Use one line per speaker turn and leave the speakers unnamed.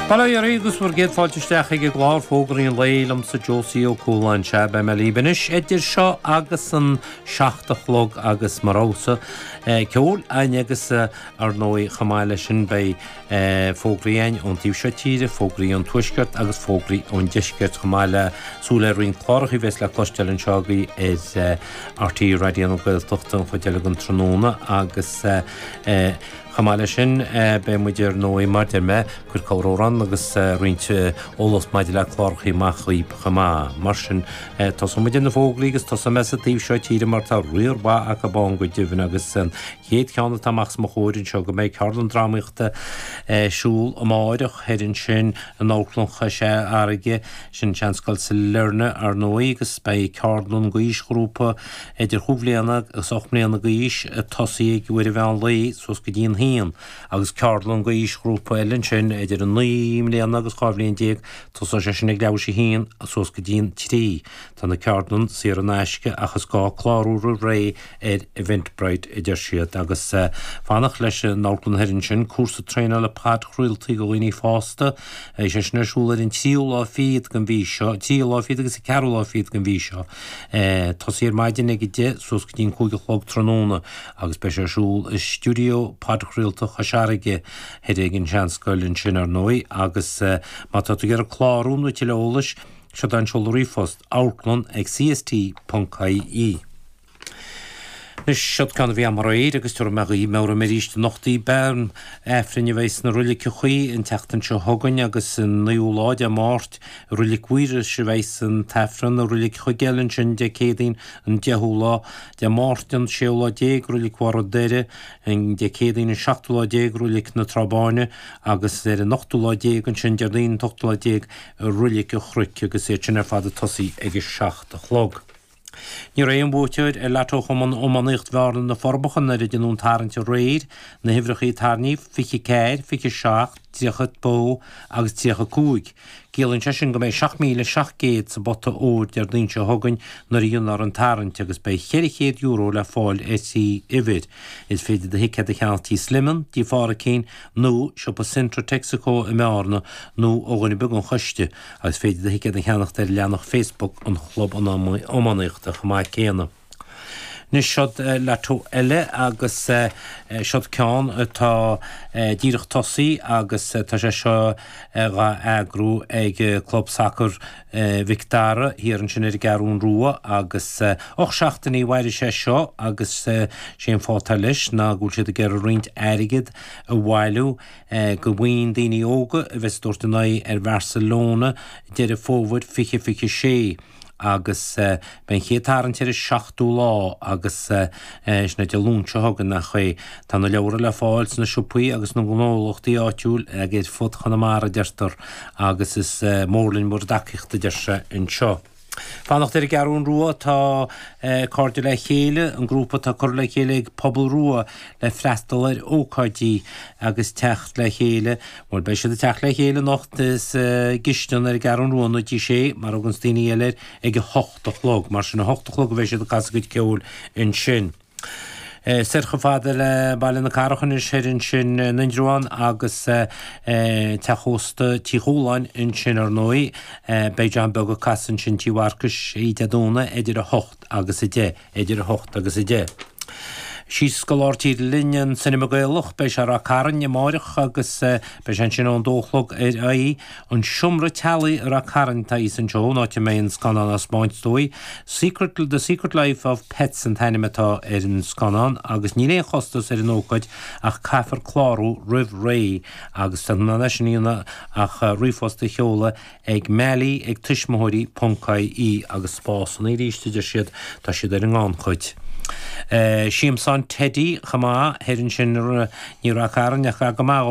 Bail ó Dhia oraibh agus bhur gcéad fáilte isteach ag an gclár Fógraí an Lae liomsa Josie Ó Cualáin. Sea, beidh mé libh anois idir seo agus an 7 a chlog agus mar fheabhas ceoil againn agus ar ndóigh chomh maith leis sin beidh fógraí againn ón taobh seo tíre, fógraí ón tuaisceart agus fógraí ón deisceart chomh maith le súil ar roinnt cláracha a bheas le cloisteáil anseo agaibh ar RTÉ Raidió na Gaeltachta an chuid eile den tráthnóna agus Chomh maith leis sin, beidh muid ar ndóigh, mar deir mé, cur corramhrán agus roinnt eolas maidir le clárachaí amach dhaoib chomh maith. Mar sin, tosóidh muid ar na fógraí agus tosóidh mé sa taobh seo tíre mar tá riar mhaith acu ann go deimhin agus an chéad cheann atá amach os mo chomhair anseo go mbeidh ceardlann drámaíochta ar siúl amáireach thoir ansin in Amharclann Chois Fharraige, sin Seanscoil Sailearna ar ndóigh agus beidh ceardlann d'aoisghrúpa idir chúig bhliana agus 8 mbliana d'aois ag tosaí ag uair an mheán lae suas go dtí an haon, agus ceardlann d'aoisghrúpa eile ansin idir 9 mbliana agus 12 bhliain, tosóidh sé sin ag leathuair théis a haon suas go dtí an trí. Tá na ceardlann saor in aisce ach is gá clárú roimh ré ar Eventbrite, a deir siad. Agus fanacht leis an amharclann thoir ansin, cúrsa traenála podchraoltaí do dhaoine fásta, beidh sé sin ar siúl ar an tríú lá fichead den mhí seo, tríú lá fichead agus an ceathrú lá fichead den mhí seo. Tosaí ar maidin ag 10 suas go dtí an 5 a chlog tráthnóna agus beidh sé ar siúl i stiúideo podchraolta Chois Fharraige thoir ag an Seanscoil ansin ar ndóigh agus má tá tú ag iarraidh clárú nó tuilleadh eolais, seod é an seoladh ríomhphost, amharclann ag cst.ie. Anois, seod ceann a bhí agam aréir agus tabharfaidh mé dhaoibh, meabhróidh mé arís anocht í, bean Aifrinn a bheidh sna roiliceachaí an tseachtain seo chugainn agus an naoú lá de Máirt i Roilic Mhuiris a bheidh an tAifreann i Roilic Chuigéil ansin Dé Céadaoin an deichiú lá de Máirt an séú lá déag Roilic Bharr an Doire an Dé Céadaoin an seachtú lá déag Roilic na Trá Báine agus ar an ochtú lá déag ansin Déardaoin an t-ochtú lá déag i Roilic an Chnoic agus iad sin ar fad ag tosaí ag a 7 a chlog. Ní raibh aon bhuaiteoir ar Lotto Chumann Iománaíocht Bhearna Na Forbacha nuair a deineadh an tarraingt aréir, na huimhreacha a tarraingíodh, 24, 27, 32 agus 35. Ciallaíonn sé sin go mbeidh 7,700 sa bpota óir Déardaoin seo chugainn nuair a dhéanfar an tarraingt agus beidh €400 le fáil ar thrí uimhir. Is féidir do thicéad a cheannach Tí Sliman, Tí Phádhraic nó siopa Centra Texaco i mBearna nó ó dhuine ar bith den choiste. Agus is féidir do thicéad a cheannacht ar leathanach Facebook an Chlub Iománaíochta chomh maith céanna. Anois seod Lotto eile agus seod ceann atá díreach tosaí agus tá sé seo dhá eagrú ag Club Sacair Mhic Dara thiar ansin ar an gCeathrún Rua agus 8 seachtainí a mhairfidh sé seo agus sé an fáth atá leis ná go bhfuil siad ag iarraidh roinnt airgead a bhailiú do bhuíon daoine óga a bheas ag tabhairt a n-aghaidh ar Bharcelona Deireadh Fómhair 2026 agus beidh an chéad tarraingt ar an seachtú lá agus sin é Dé Luain seo chugainn nach é. Tá na leabhra le fáil sna siopaí agus sna gnólachtaí áitiúil ag ar fud Chonamara deirtear agus is mór linn bhur dtacaíocht a deir sé anseo. Fanacht ar an gCeathrún Rua tá Cairde le Chéile, an grúpa atá curtha le chéile ag Pobal Rua le freastal ar ócáidí agus teacht le chéile, bhuel beidh siad ag teacht le chéile anocht sa gcistin ar an gCeathrún Rua nó Tigh Sé mar a thuganns daoine eile air, ag a hocht a chlog. Mar sin a hocht a chlog a bheidh siad ag casadh a gcuid ceoil ansin. Soir chomh fada le Baile na Cathrach anois thoir ansin in Indreabhán agus teach ósta Tí Chualáin ansin ar ndóigh. Beidh John Beag ag casadh ansin Tí Mharcais oíche Dé Domhnaigh idir 8 agus 10, idir 8 agus 10. Síos go lár tíre linn, an Cinema Gaelach, beidh sé i Ráth Cairn amáireach agus beidh sé ansin ón dó a chlog ar aghaidh. An Seomra Teaghlaigh i Ráth Cairn atá thíos anseo, an áit a mbeidh an scannán á 'spáint is dóigh. Secret, The Secret Life of Pets an t-ainm atá ar an scannán agus níl aon chostas ar an ócáid ach caithfear clárú roimh ré agus tá tú in ann é sin a dhéanamh ach ríomhphost a sheoladh ag Mally ag tuismitheoirí ponc ie agus spásanna arís a deir siad, tá siad ar an ngannchuid. Siamsán Teidí chomh maith, thoir ansin ní Ráth Cairn ach gar go maith.